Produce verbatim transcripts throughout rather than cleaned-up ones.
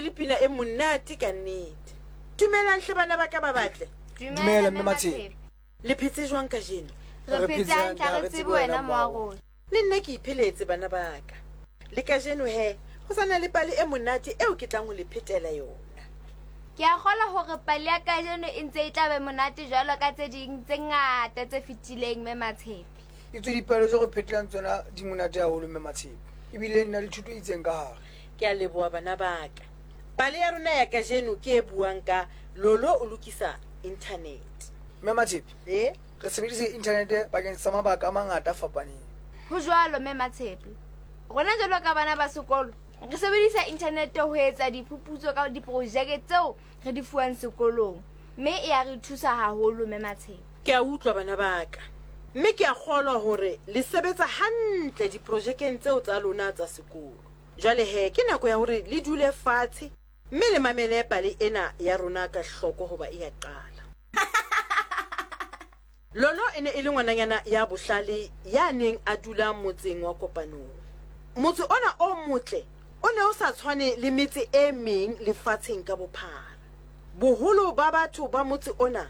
le pina e monate ka nnete. Dumelang hle bana ba ka ba batle. Dumela, Mme Matshepe. Le phetse jwang kajeno? Re phetse hantle, ha re tsebe wena moa rona. Le nna ke ipheletse bana ba ka. Le kajeno he, ho sa na le pale e monate eo ke tlang ho le phetela yona. Ke a kgolwa hore pale ya kajeno e ntse e tla be monate jwalo ka tse ding tse ngata tse fetileng, Mme Matshepe. Etswe dipale tse re phetelang tsona di monate haholo, Mme Matshepe. Ebile di na le thuto e itseng ka hare. Ke a leboha bana ba ka. Pale ya rona ya kajeno ke e buang ka Lolo o lokisa internet. Mme Matshepe, Eh? re sebedisa internet bakeng sa mabaka a mangata a fapaneng. Ho jwalo, Mme Matshepe. Rona jwalo ka bana ba sekolo, re sebedisa internet ho etsa diphuputso ka diprojeke tseo re di fuwang sekolong. Mme e a re thusa haholo, Mme Matshepe. Ke a utlwa bana ba ka. Mme ke a kgolwa hore le sebetsa hantle diprojekeng tseo tsa lona tsa sekolo. Jwale he, ke nako ya hore le dule fatshe mme le mamele pale ena ya rona ka hloko hoba e a qala. Lolo e ne e le ngwananyana ya bohlale ya neng a dula motseng wa Kopanong. Motse ona o motle o ne o sa tshwane le metse e meng lefatsheng ka bophara. Boholo ba batho ba motse ona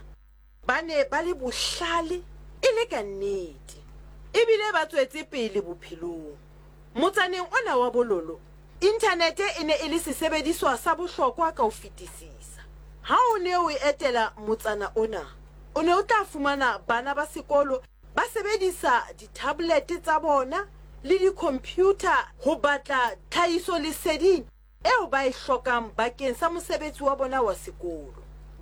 ba ne ba le bohlale e le ka nnete, ebile ba tswetse pele bophelong. Motsaneng ona wa Bololo, inthanete e ne e le sesebediswa sa bohlokwa ka ho fetisisa. Ha o ne o etela motsana ona, o ne o tla fumana bana ba sekolo ba sebedisa di-tablet tsa bona le di-computer ho batla tlhahisoleseding eo ba e hlokang bakeng sa mosebetsi wa bona wa sekolo.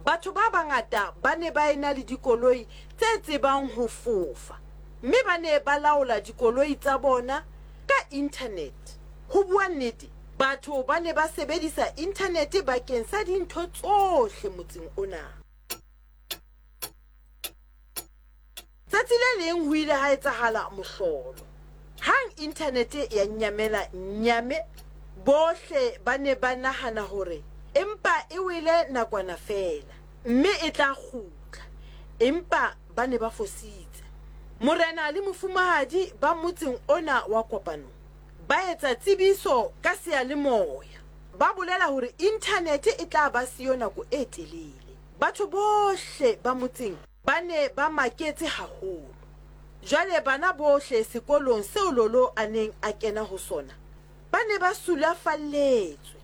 Batho ba bangata ba ne ba ena le dikoloi tse tsebang ho fofa, mme ba ne ba laola dikoloi tsa bona ka internet. Ho bua nnete, batho ba ne ba sebedisa internet bakeng sa dintho tsohle motseng ona. Tsatsi le leng ho ile ha etsahala mohlolo. Hang internet ya nyamela nyame, bohle ba ne ba nahana hore empa e wele nakwana feela, mme e tla kgutla. Empa ba ne ba fositse. Morena le mofumahadi ba motseng ona wa Kopanong ba etsa tsebiso ka seyalemoya. Ba bolela hore internet e tla ba siyo nako e telele. Batho bohle ba motseng ba ne ba maketse haholo. Jwale bana bohle sekolong seo Lolo a neng a kena ho sona ba ne ba sulafalletswe.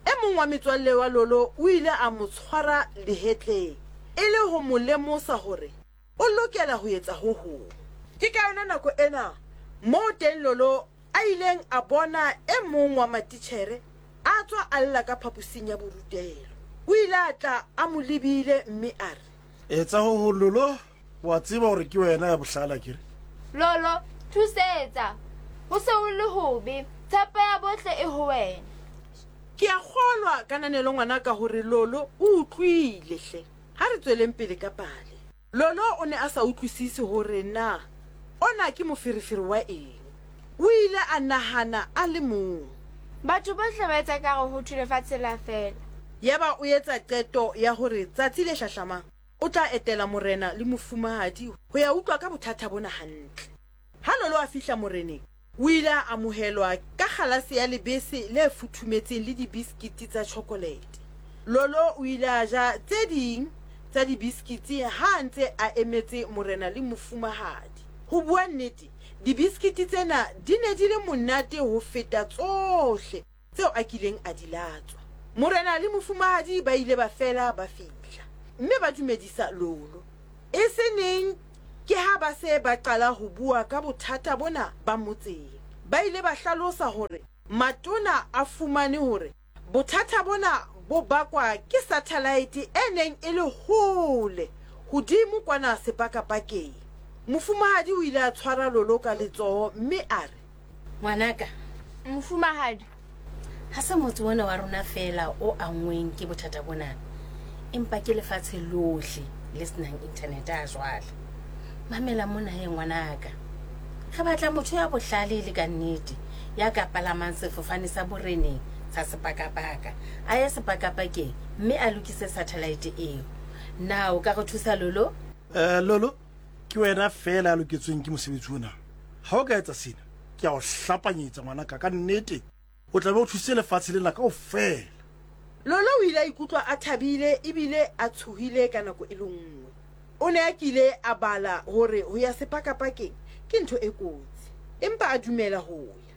E mong wa metswalle wa Lolo o ile a mo tshwara lehetleng e le ho mo lemosa hore o lokela ho etsa ho hong. Ke ka yona nako ena moo teng Lolo a ileng a bona e mong wa matitjhere a tswa a lla ka phaposing ya borutelo. O ile a tla a mo lebile mme a re, Etsa ho hong Lolo, wa tseba hore ke wena ya bohlale akere? Lolo, thusetsa. Ho se ho le hobe. Tshepo ya bohle e ho wena. Ke a kgolwa kananelo ngwanaka hore Lolo o utlwile hle. Ha re tsweleng pele ka pale. Lolo o ne a sa utlwisise hore na ona ke moferefere wa eng. O ile a nahana a le mong. Batho bohle ba etsa ekare ho thwe lefatshe la fela. Yaba o etsa qeto ya hore tsatsi le hlahlamang o tla etela morena le mofumahadi ho ya utlwa ka bothata bona hantle. Ha Lolo a fihla moreneng, o ile a amohelwa ka kgalase ya lebese le futhumetseng le dibiskiti tsa chocolate. Lolo o ile a ja tse ding tsa dibiskiti ha a ntse a emetse morena le mofumahadi. Ho bua nnete, dibiskiti tsena di ne di le monate ho feta tsohle tseo a kileng a di latswa. Morena le mofumahadi ba ile ba fela ba fihla, mme ba dumedisa Lolo. E se neng ke ha ba se ba qala ho bua ka bothata bona ba motseng. Ba ile ba hlalosa hore matona a fumane hore bothata bona bo bakwa ke satellite e neng e le hole hodimo kwana sepakapakeng. Mofumahadi o ile a tshwara Lolo ka letsoho mme a re, Ngwanaka, Mofumahadi, ha se motse ona wa rona feela o anngweng ke bothata bona, empa ke lefatshe lohle le senang internet a jwale. Mamela mona he ngwanaka. Re batla motho ya bohlale le ka nnete, ya ka palamang sefofane sa boreneng sa sepakapaka, a ye sepakapakeng mme a lokise satellite eo. Na o ka re thusa Lolo? Eh, Lolo, ke wena feela ya loketsweng ke mosebetsi ona. Ha o ka etsa sena, ke a o hlapanyetsa ngwanaka ka nnete, o tla be o thusitse lefatshe lena kaofela. Lolo o ile a ikutlwa a thabile ebile a tshohile ka nako e le nngwe. O ne a kile a bala hore ho ya sepakapakeng ke ntho e kotsi, empa a dumela ho ya.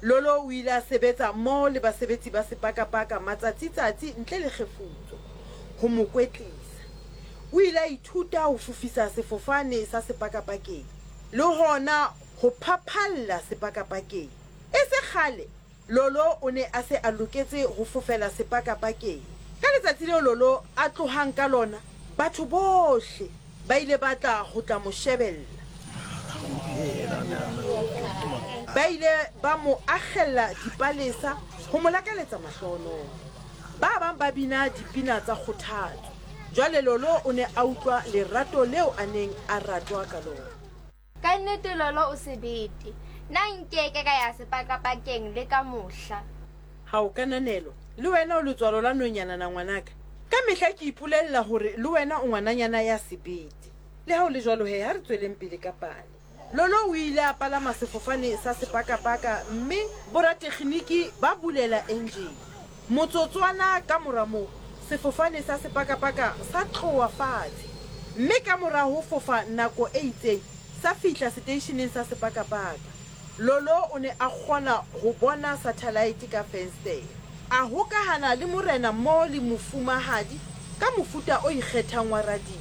Lolo o ile a sebetsa mmoho le basebetsi ba sepakapaka matsatsi-tsatsi ntle le kgefutso ho mo kwetlisa. O ile a ithuta ho fofisa sefofane sa sepakapakeng le hona ho phaphalla sepakapakeng. E se kgale Lolo o ne a se a loketse ho fofela sepakapakeng. Ka letsatsi leo Lolo a tlohang ka lona, batho bohle ba ile ba tla ho tla mo shebella. Ba ile ba mo akgella dipalesa ho mo lakaletsa mahlohonolo. Ba bang ba bina dipina tsa kgothatso. Jwale Lolo o ne a utlwa lerato leo a neng a ratwa ka lona. Ka nnete Lolo o sebete. Nna nkeke ka ya sepakapakeng le ka mohla. Ha o kananelo, le wena o letswalo la nonyana na ngwanaka. Ka mehla ke ipolella hore le wena o ngwananyana ya sebete. Le ha o le jwalo he, ha re tsweleng pele ka pale. Lolo o ile a palama sefofane sa sepakapaka mme boratekginiki ba bulela engine. Motsotswana ka mora moo, sefofane sa sepakapaka sa tloha fatshe. Mme ka mora ho fofa nako e itseng, sa fihla seteisheneng sa sepakapaka. Lolo o ne a kgona ho bona satellite ka fensetere. A hokahana le morena mmoho le mofumahadi ka mofuta o ikgethang wa radio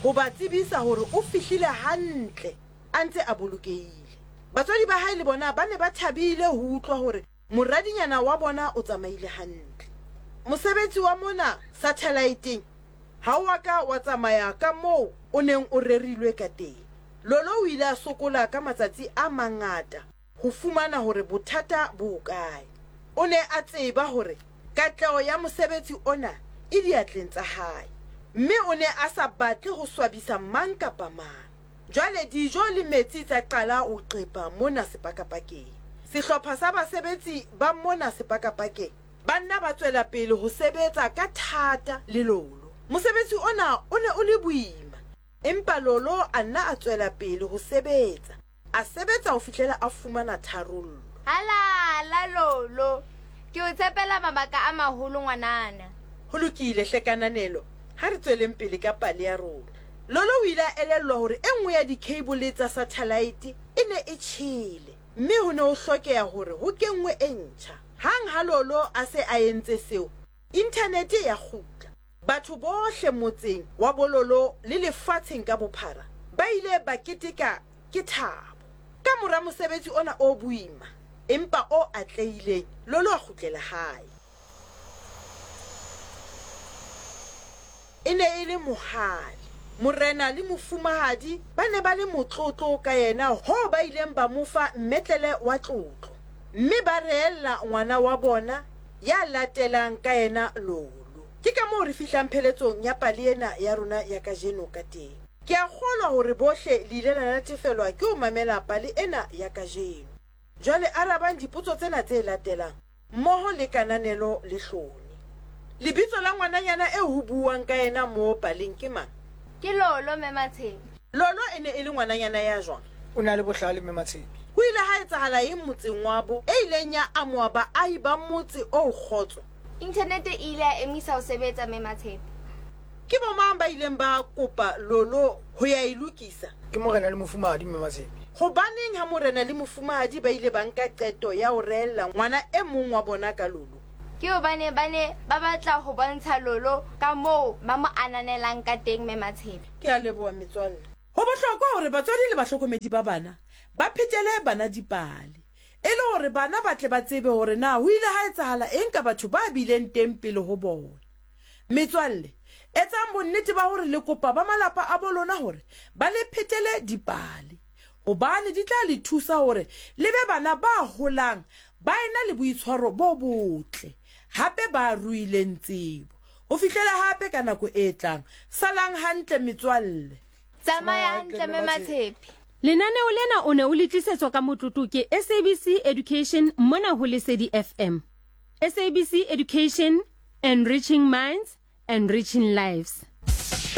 ho ba tsebisa hore o fihlile hantle a ntse a bolokehile. Batswadi ba hae le bona ba ne ba thabile ho utlwa hore moradinyana wa bona o tsamaile hantle. Mosebetsi wa mona satelliteng ha o a ka wa tsamaya ka moo o neng o rerilwe ka teng. Lolo o ile a sokola ka matsatsi a mangata ho fumana hore bothata bo hokae. O ne a tseba hore katleho ya mosebetsi ona e diatleng tsa hae, mme o ne a sa batle ho swabisa mang kapa mang. Jwale dijo le metsi tsa qala ho qepa mona sepakapakeng. Sehlopha sa basebetsi ba mona sepakapakeng ba nna ba tswela pele ho sebetsa ka thata le Lolo. Mosebetsi ona o ne o le boima, empa Lolo a nna a tswela pele ho sebetsa. A sebetsa ho fihlela a fumana tharollo. Halala Lolo, ke o tshepela mabaka a maholo ngwanana. Ho lokile hle kananelo, ha re tsweleng pele ka pale ya rona. Lolo o ile a elellwa hore e nngwe ya di-cable tsa satellite e ne e tjhele, mme ho ne ho hlokeha hore ho kenngwe e ntjha. Hang ha Lolo a se a entse seo, inthanete ya kgutla. Batho bohle motseng wa Bololo le lefatsheng ka bophara ba ile ba keteka ke thabo. Ka mora mosebetsi ona o boima empa o atlehileng, Lolo a kgutlela hae. E ne e le mohale. Morena le mofumahadi ba ne ba le motlotlo ka yena hoo ba ileng ba mo fa mmetlele wa tlotlo, mme ba reella ngwana wa bona ya latelang ka yena Lolo. Ke ka moo re fihlang pheletsong ya pale ena ya rona ya kajeno ka teng. Ke a kgolwa hore bohle le ile la natefelwa ke ho mamela pale ena ya kajeno. Jwale arabang dipotso tsena tse latelang mmoho le kananelo le hlone. Lebitso la ngwananyana eo ho buuwang ka yena mo paleng ke mang? Ke Lolo mme Matshepe. Lolo e ne e le ngwananyana ya jwang? O na le bohlale mme Matshepe. Ho ile ha etsahala eng motseng wa bo e ileng ya amoha baahi ba motse o kgotso? Inthanete e ile ya emisa ho sebetsa mme Matshepe. Ke bo mang ba ileng ba kopa Lolo ho ya e lokisa? Ke morena le mofumahadi mme Matshepe. Hobaneng ha morena le mofumahadi ba ile ba nka qeto ya ho reella ngwana e mong wa bona ka Lolo? Ke hobane ba ne ba batla ho bontsha Lolo ka moo ba mo ananelang ka teng mme Matshepe. Ke a leboha metswalle. Ho bohlokwa hore batswadi le bahlokomedi ba bana ba phetele bana dipale, e le hore bana ba tle ba tsebe hore na ho ile ha etsahala eng ka batho ba bileng teng pele ho bona. Metswalle, etsang bonnete ba hore le kopa ba malapa a bo lona hore ba le phetele dipale, hobane di tla le thusa hore le be bana ba holang ba ena le boitshwaro bo botle, hape ba ruileng tsebo. Ho fihlela hape ka nako e tlang, salang hantle metswalle. Tsamaya hantle mme Matshepe. Lenaneo lena o ne o le tlisetswa ka motlotlo ke S A B C Education mona ho Lesedi F M. S A B C Education, enriching minds, enriching lives.